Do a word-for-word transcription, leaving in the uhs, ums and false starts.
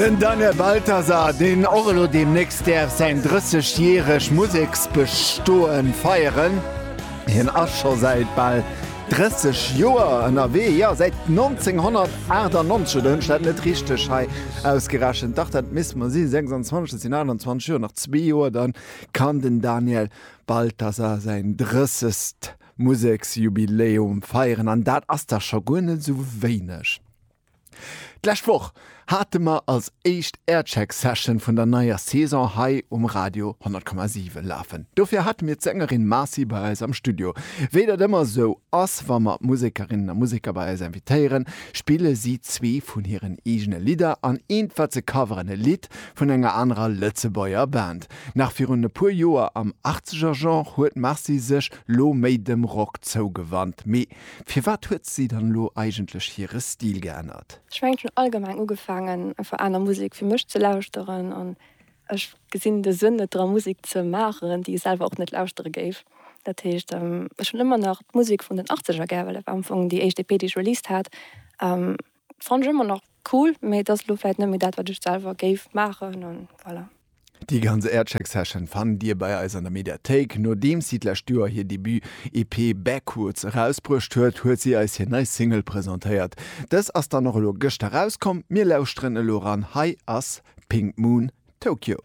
Den Daniel Balthasar, deen och elo deemnächst däerf säin drëssegjäreg Museksbestoe feieren. Hien ass scho säit bal drësseg Joer ënnerwee, jo säit nonzénghonnertaachtanonzeg, oder hunn ech dat net richteg hei ausgerechent? Dach, dat misst mer si sechsanzwanzeg, dat sinn aachtanzwanzeg Joer, nach zwee Joer, dann kann den Daniel Balthasar säin drëssegst Museksjubiläum feieren, an dat ass da scho guer net esou wéineg. D'lescht Woch hate mer als éischt Aircheck-Session vun der neier Saison hei um Radio honnert Komma siwen lafen. Dofir hate mir d'Sängerin Marcy bei eis am Studio. Wéi dat ëmmer esou ass, wa mer Musekerinnen a Museker bei eis invitéieren, spille si zwee vun hiren eegene Lidder an eent wat se coveren, e Lidd vun enger anerer Lëtzebuerger Band. Nach virun e puer Joer am Achtzeger-Genre huet d'Marcy sech lo méi dem Rock zougewannt. Mee firwat huet si dann elo eigentlech hire Stil geännert? Ech mengen, ech hunn allgemeng ugefaangen einfach aner Musek fir mech ze lauschteren an ech gesinn de Sënn net dra Musek ze maachen, déi ech selwer och net lauschtere géif. Dat heescht, ech hunn ëmmer nach d'Musek vun den Achtzeger gär, well dat war am Fong déi éischt E P, déi ech released hat. Fannen ech ëmmer nach cool, mee et ass elo vläicht net méi dat, wat ech selwer géif maachen an voilà. Déi ganz Aircheck Session fannt Dir bei eis an der Mediathéik. Nodeems si d'lescht Joer hir Debut-E P Backwoods erausbruecht huet, huet si eis hir nei Single presentéiert. Dës ass dann och elo gëschter erauskomm. Mir lauschteren elo eran. Hei ass Pink Moon Tokyo.